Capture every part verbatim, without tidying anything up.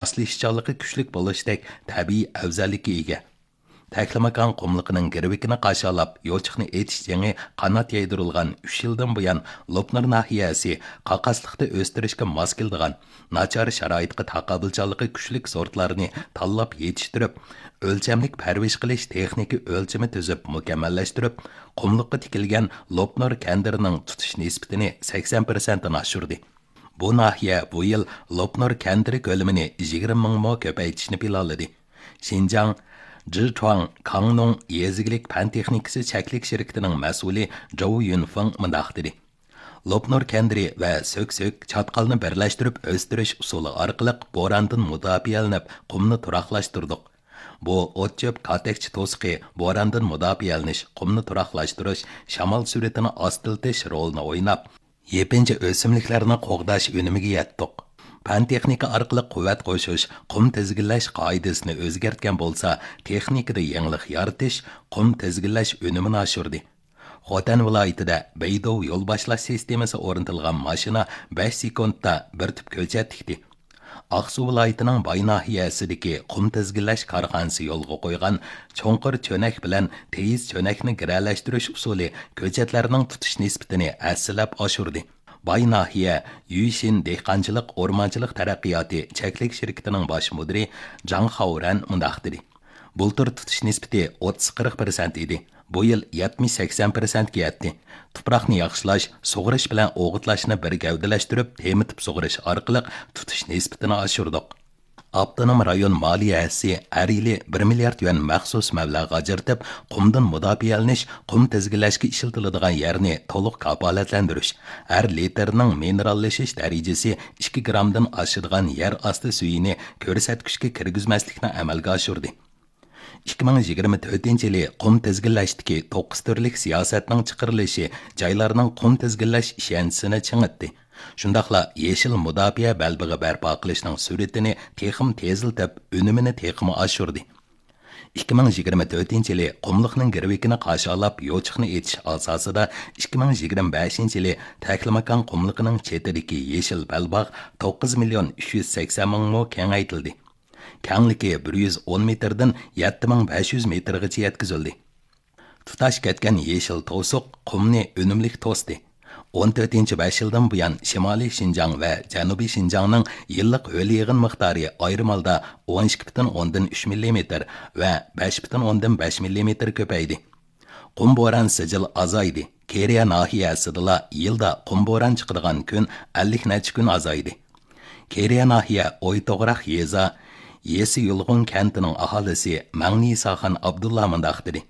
ماسلىشىشچانلىقى كۈچلۈك بولۇشتەك تەبىئىي ئەۋزەللىككە ئىگە. تەكلىماكان قۇملۇقىنىڭ گىرۋىكىنى قارشى ئالاپ، يوچۇقنى ئېتىش جېڭى قانات يايدۇرۇلغان ئۈچ يىلدىن بۇيان، لوپنۇر ناھىيەسى قاقاسلىقتا ئۆستۈرۈشكە ماس كېلىدىغان، ناچار شارائىتقا تاقابىلچانلىقى كۈچلۈك سورتلارنى تاللاپ يېتىشتۈرۈپ، ئۆلچەملىك پەرۋىش قىلىش تېخنىكا ئۆلچىمى تۈزۈپ مۇكەممەللەشتۈرۈپ، قۇملۇققا تىكىلگەن لوپنۇر كەندىرىنىڭ تۇتۇش نىسبىتىنى سەكسەن پىرسەنتتىن ئاشۇردى. بۇ ناھىيە بۇ يىل لوپنۇر كەندىرى كۆلىمىنى يىگىرمە مىڭ مو كۆپەيتىشنى پىلانلىدى. شىنجاڭ جىچۇاڭ كاڭنۇڭ يېزا ئىگىلىك پەن تېخنىكىسى چەكلىك شىركىتىنىڭ مەسئۇلى جوۋ يۈنفېڭ مۇنداق دېدى: لوپنۇر كەندىرى ۋە سۆكسۆك چاتقالنى بىرلەشتۈرۈپ ئۆستۈرۈش ئۇسۇلى ئارقىلىق بوراندىن مۇداپىئەلىنىپ، قۇمنى تۇراقلاشتۇردۇق. بۇ ئوت-چۆپ كاتەكچە توسۇقى بوراندىن مۇداپىئەلىنىش، قۇمنى تۇراقلاشتۇرۇش، شامال سۈرئىتىنى ئاستىلىتىش رولىنى ئويناپ، يېپىنچا ئۆسۈملۈكلەرنى قوغداش ئۈنۈمىگە يەتتۇق. پەن تېخنىكا ئارقىلىق قۇۋۋەت قوشۇش، قۇم تىزگىنلەش قائىدىسىنى ئۆزگەرتكەن بولسا، تېخنىكىدا يېڭىلىق يارىتىش، قۇم تىزگىنلەش ئۈنۈمىنى ئاشۇردى. خوتەن ۋىلايىتىدە بېيدوۋ يول باشلاش سىستېمىسى ئورنىتىلغان ماشىنا بەش سېكۇنتتا بىر تۈپ كۆچەت تىكتى. ئاقسۇ ۋىلايىتىنىڭ باي ناھىيەسىدىكى قۇم تىزگىنلەش كارخانىسى يولغا قويغان چوڭقۇر چۆنەك بىلەن تېيىز چۆنەكنى گىرەلەشتۈرۈش ئۇسۇلى كۆچەتلەرنىڭ تۇتۇش نىسبىتىنى ھەسسىلەپ ئاشۇردى. باي ناھىيە يۈيشىن دېھقانچىلىق ئورمانچىلىق تەرەققىياتى چەكلىك شىركىتىنىڭ باش مۇدىرى جاڭ خاۋرەن مۇنداق دېدى: بۇلتۇر تۇتۇش نىسبىتى ئوتتۇز قىرىق پىرسەنت ئىدى. بۇ يىل يەتمىش سەكسەن پىرسەنتكە يەتتى. تۇپراقنى ياخشىلاش، سۇغىرىش بىلەن ئوغۇتلاشنى بىر گەۋدىلەشتۈرۈپ، تېمىتىپ سۇغىرىش ئارقىلىق تۇتۇش نىسبىتىنى ئاشۇردۇق. ئاپتونوم رايون مالىيە ھەسسىسى ھەر يىلى بىر مىليارد يۈەن مەخسۇس مەبلەغ ئاجرىتىپ، قۇمدىن مۇداپىئەلىنىش، قۇم تىزگىنلەشكە ئىشلىتىلىدىغان يەرنى تولۇق كاپالەتلەندۈرۈش، ھەر لىتىرنىڭ مىنېراللىشىش دەرىجىسى ئىككى گرامدىن ئاشىدىغان يەر ئاستى سۈيىنى كۆرسەتكۈچكە كىرگۈزمەسلىكنى ئەمەلگە ئاشۇردى. ئىككى مىڭ يىگىرمە تۆتىنچى يىلى قۇم تىزگىنلەشتىكى توققۇز تۈرلۈك سىياسەتنىڭ چىقىرىلىشى جايلارنىڭ قۇم تىزگىنلەش ئىشەنچىسىنى چىڭىتتى. شۇنداقلا يېشىل مۇداپىئە بەلبېغى بەرپا قىلىشنىڭ سۈرئىتىنى تېخىمۇ تېزلىتىپ، ئۈنۈمىنى تېخىمۇ ئاشۇردى. ئىككى مىڭ يىگىرمە تۆتىنچى يىلى قۇملۇقنىڭ گىرۋىكىنى قارشى ئالاپ يوچۇقنى ئېتىش ئاساسىدا، ئىككى مىڭ يىگىرمە بەشىنچى يىلى تەكلىماكان قۇملۇقىنىڭ چېتىدىكى يېشىل بەلباغ توققۇز مىليون ئۈچ يۈز سەكسەن مىڭ مو كېڭەيتىلدى. كەڭلىكى بىر يۈز ئون مېتىردىن يەتتە مىڭ بەش يۈز مېتىرغىچە يەتكۈزۈلدى. تۇتاش كەتكەن يېشىل توسۇق قۇمنى ئۈنۈملۈك توستى. ئون تۆتىنچى بەش يىلدىن بۇيان، شىمالىي شىنجاڭ ۋە جەنۇبىي شىنجاڭنىڭ يىللىق ھۆل يېغىن مىقدارى ئايرىم ھالدا ئون ئىككى پۈتۈن ئوندىن ئۈچ مىللىمېتىر ۋە بەش پۈتۈن ئوندىن بەش مىللىمېتىر كۆپەيدى. قۇم بوران سىجىل ئازايدى. كېرىيە ناھىيەسىدىلا يىلدا قۇم بوران چىقىدىغان كۈن ئەللىك نەچچە كۈن ئازايدى. كېرىيە ناھىيە ئويتوغراق يېزا يېسى يۇلغۇن كەنتىنىڭ ئاھالىسى مەڭنى ساخان ئابدۇللا مۇنداق دېدى: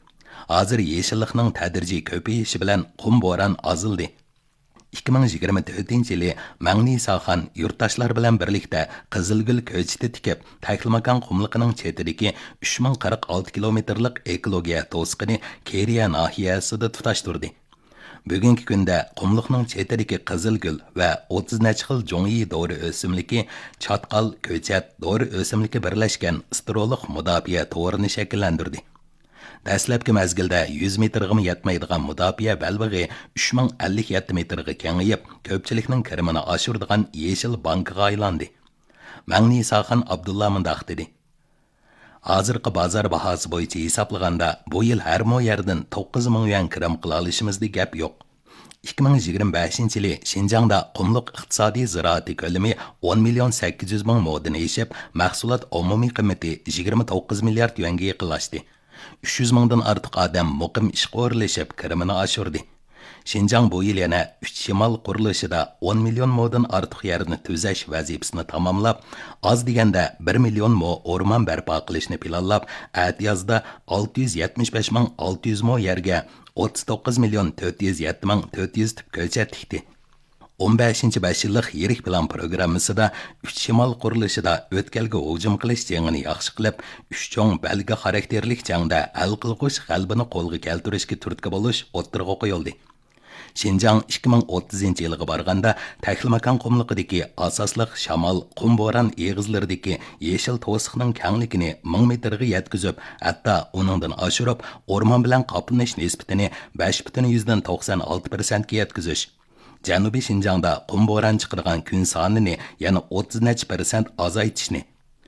ھازىر يېشىللىقنىڭ تەدرىجىي كۆپىيىشى بىلەن قۇم بوران ئازلىدى. ئىككى مىڭ يىگىرمە تۆتىنچى يىلى مەڭنى ساخان يۇرتداشلار بىلەن بىرلىكتە قىزىلگۈل كۆچىتى تىكىپ، تەكلىماكان قۇملۇقىنىڭ چېتىدىكى ئۈچ مىڭ قىرىق ئالتە كىلومېتىرلىق ئېكولوگىيە توسۇقىنى كېرىيە ناھىيەسىدە تۇتاشتۇردى. بۈگۈنكى كۈندە قۇملۇقنىڭ چېتىدىكى قىزىلگۈل ۋە ئوتتۇز نەچچە خىل جۇڭيى دورا ئۆسۈملۈكى، چاتقال، كۆچەت، دورا ئۆسۈملۈكى بىرلەشكەن ئىستېرېئولۇق مۇداپىئە تورىنى شەكىللەندۈردى. دەسلەپكى مەزگىلدە يۈز مېتىرغىمۇ يەتمەيدىغان مۇداپىئە بەلبېغى ئۈچ مىڭ ئەللىك يەتتە مېتىرغا كېڭىيىپ، كۆپچىلىكنىڭ كىرىمىنى ئاشۇرىدىغان يېشىل بانكىغا ئايلاندى. مەڭنى ساخان ئابدۇللا مۇنداق دېدى: ھازىرقى بازار باھاسى بويىچە ھېسابلىغاندا، بۇ يىل ھەر مو يەردىن توققۇز مىڭ يۈەن كىرىم قىلالىشىمىزدا گەپ يوق. ئىككى مىڭ يىگىرمە بەشىنچى يىلى شىنجاڭدا قۇملۇق ئىقتىسادىي زىرائىتى كۆلىمى ئون مىليون سەككىز يۈز مىڭ مودىن ئېشىپ، مەھسۇلات ئومۇمىي قىممىتى يىگىرمە توققۇز مىليارد يۈەنگە يېقىنلاشتى. ئۈچ يۈز مىڭدىن ئارتۇق ئادەم مۇقىم ئىشقا ئورۇنلىشىپ، كىرىمىنى ئاشۇردى. شىنجاڭ بۇ يىل يەنە ئۈچ شىمال قۇرۇلۇشىدا ئون مىليون مودىن ئارتۇق يەرنى تۈزەش ۋەزىپىسىنى تاماملاپ، ئاز دېگەندە بىر مىليون مو ئورمان بەرپا قىلىشنى پىلانلاپ، ئەتىيازدا ئالتە يۈز يەتمىش بەش مىڭ ئالتە يۈز مو يەرگە ئوتتۇز توققۇز مىليون تۆت يۈز يەتتە مىڭ تۆت يۈز تۈپ كۆچەت تىكتى. ئون بەشىنچى بەش يىللىق يىرىك پىلان پروگراممىسىدا ئۈچ شىمال قۇرۇلۇشىدا ئۆتكەلگە ھۇجۇم قىلىش جېڭىنى ياخشى قىلىپ، ئۈچ چوڭ بەلگە خاراكتېرلىك جەڭدە ھەل قىلغۇچ غەلىبىنى قولغا كەلتۈرۈشكە تۈرتكە بولۇش ئوتتۇرىغا قويۇلدى. شىنجاڭ ئىككى مىڭ ئوتتۇزىنچى يىلغا بارغاندا، تەكلىماكان قۇملۇقىدىكى ئاساسلىق شامال، قۇم بوران ئېغىزلىرىدىكى يېشىل توسۇقنىڭ كەڭلىكىنى مىڭ مېتىرغا يەتكۈزۈپ، ھەتتا ئۇنىڭدىن ئاشۇرۇپ، ئورمان بىلەن قاپلىنىش نىسبىتىنى بەش پۈتۈن يۈزدىن توقسان ئالتە پىرسەنتكە يەتكۈزۈش، جەنۇبىي شىنجاڭدا قۇم بوران چىقىدىغان كۈن سانىنى يەنە ئوتتۇز نەچچە پىرسەنت ئازايتىشنى،